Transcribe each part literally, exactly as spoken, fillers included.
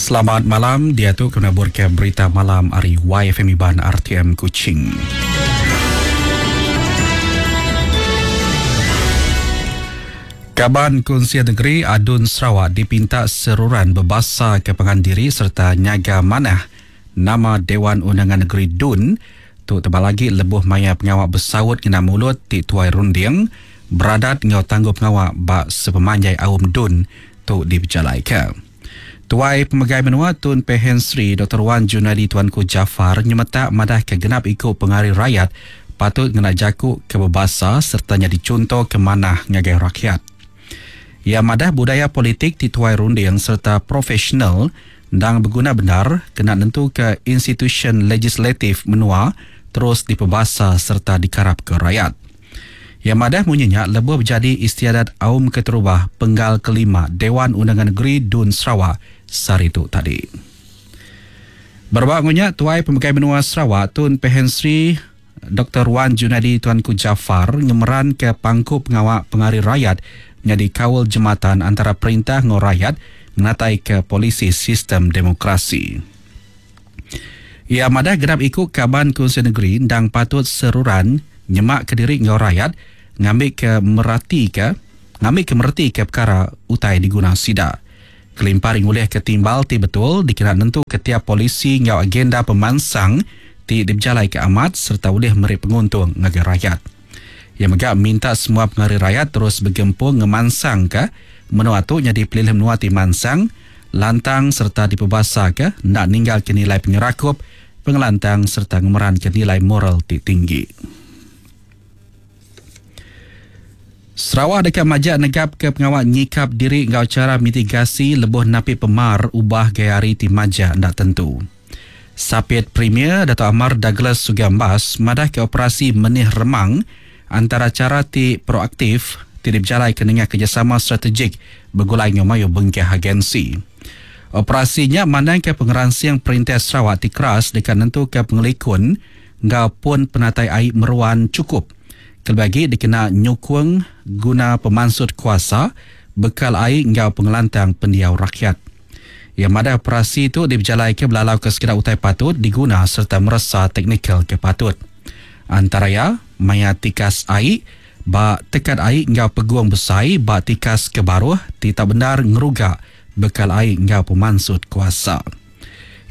Selamat malam, dia tu kena ke berita malam hari Y F M Iban R T M Kuching. Kaban Kunsil Negeri Adun Sarawak dipinta seruran berbasa ke pengandiri serta nyaga manah nama Dewan Undangan Negeri D U N tu tebal lagi lebuh maya pengawak bersaut kena mulut ti tuai runding beradat ngau tangguh pengawak bak sepemanjai awam D U N tu diberjalai ke. Tuai Pemegai Menua Tun Pehin Sri Doktor Wan Junaidi Tuanku Jaafar nyemetak madah ke genap ikut pengari rakyat patut ngena jaku kebebasa serta nyadi contoh ke manah ngagai rakyat. Ia madah budaya politik ti tuai runding serta profesional ndang berguna benar kena nentu ke institution legislatif menua terus dipebasa serta dikarap ke rakyat. Ia madah munyinya lebuh berjadi istiadat Aum Keterubah Penggal Kelima Dewan Undangan Negeri D U N Sarawak sehari tu tadi. Berbak ngunya Tuai Pemegai Menua Sarawak Tun Pehin Sri Doktor Wan Junaidi Tuanku Jaafar ngemeran ke pangku pengawak pengari rakyat menjadi kawal jematan antara perintah ngau rakyat menatai ke polisi sistem demokrasi. Ia madah genap ikut kaban Kunsil Negeri ndang patut seruran nyemak ke diri ngau rakyat ngambil ke merati ke ngambil ke mereti ke perkara utai diguna sida. Kelimpar ngulih ke timbal ti betul dikena nentu ke tiap polisi ngau agenda pemansang ti diberjalai ke amat serta boleh meri penguntung ngagai rakyat. Ia mega minta semua pengari rakyat terus bergempung ngemansang ke menua tu jadi pelilih menua ti mansang lantang serta dipebasa ke nak ninggal ke nilai penyerakup pengelantang serta ngemeran ke nilai moral ti tinggi. Sarawak dekat majak negap ke pengawal nyikap diri ngau cara mitigasi lebuh napi pemar ubah gaya hari ti majak ndak tentu. Sapit Premier Dato' Amar Douglas Uggah Embas madah ke operasi Menih Remang antara cara ti proaktif ti diberjalai ke nengah kerjasama strategik bergulai ngau mayu bengkah agensi. Operasinya mandang ke pengeransiang Perintah Sarawak ti keras dekat nentu ke pengelikun ngau pun penatai air meruan cukup. Kelebih dikena nyukung guna pemansut kuasa bekal air ngau pengelantang pendiau rakyat. Yang madah operasi itu diberjalai ke belalau ke sekedar utai patut diguna serta meresa teknikal ke patut. Antara ya, maya tikas air, bak tekat air ngau peguang besai, bak tikas ke baruh, tidak benar ngeruga bekal air ngau pemansut kuasa.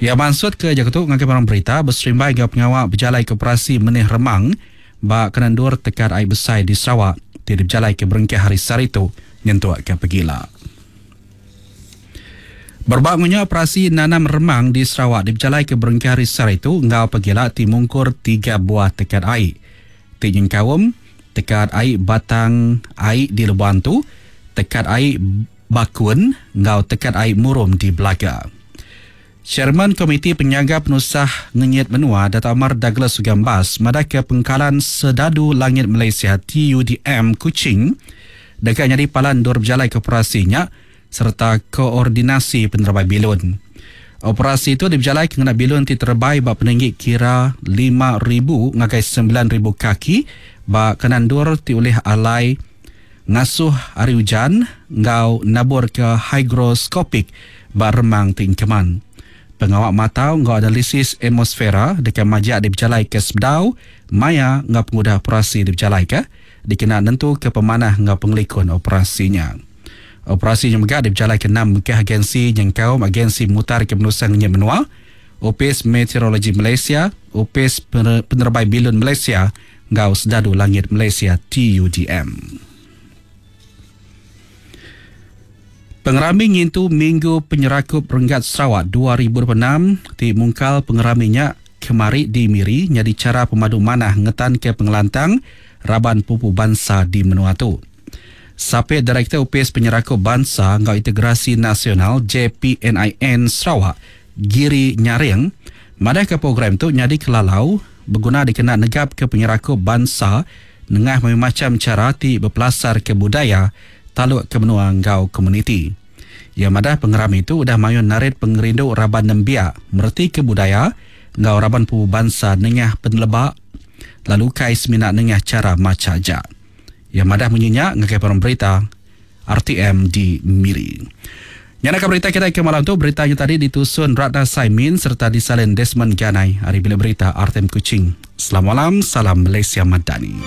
Ia mansut ke Jakarta ngagai barang berita berserimbai ngau pengawak berjalai ke operasi Menih Remang, bak kenandur tekat air besai di Sarawak, tidak berjalai ke berengkah hari saritu nyentuh ke pegila. Berbak ngunya operasi nanam remang di Sarawak diberjalai ke berengkah hari saritu ngau pegila ti mungkur tiga buah tekat air. Ti nyengkaum tekat air Batang Air di Lebuantu, tekat air Bakun ngau tekat air Murum di Belaga. Chairman Komiti Penyaga Penusah Ngenyit Menua Dato' Amar Douglas Uggah Embas madah ke Pengkalan Sedadu Langit Malaysia T U D M Kuching dekat nyadi palan dor berjalai ke operasinya serta koordinasi penerbai bilun. Operasi itu diberjalai kena bilun ti terbai bak peninggi kira lima ribu ngagai sembilan ribu kaki bak kenandur ti oleh alai ngasuh hari hujan ngau nabur ke hygroskopik bak remang tingkeman. Pengawak matau ngau analisis atmosfera dekat majak diberjalai ke Sebedau maya ngau pengudah operasi diberjalai ke dikena nentu ke pemanah ngau pengelikun operasinya. Operasi yang megah diberjalai ke enam ke agensi yang kaum agensi mutar ke Penusan Ngenyit Menua, Opis Meteorologi Malaysia, Opis Penerbai Bilun Malaysia, ngau Sedadu Langit Malaysia T U D M. Pengerami ngintu Minggu Penyerakup Renggat Sarawak dua ribu dua puluh enam ti mungkal pengeraminya kemari di Miri nyadi cara pemadu manah ngetan ke pengelantang raban pupu bangsa di menua tu. Sapit Direktur Upis Penyerakup Bangsa ngau Integrasi Nasional J P N I N Sarawak Giri Nyaring madah ke program tu nyadi kelalau berguna dikena negap ke penyerakup bangsa nengah macam cara ti berpelasar ke budaya taluk ke menua ngau komuniti. Ia madah pengeram itu udah mayun narit pengerindu raban nembiak mereti ke budaya ngau raban pupu bangsa nengah penelebak lalu kai semina nengah cara maca aja. Yang madah menyenyak ngagai parang berita R T M di Miri. Nyana berita kita ke malam tu, berita yang tadi ditusun Ratna Saimin serta disalin Desmond Ganai hari Bilik Berita R T M Kuching. Selamat malam, salam Malaysia Madani.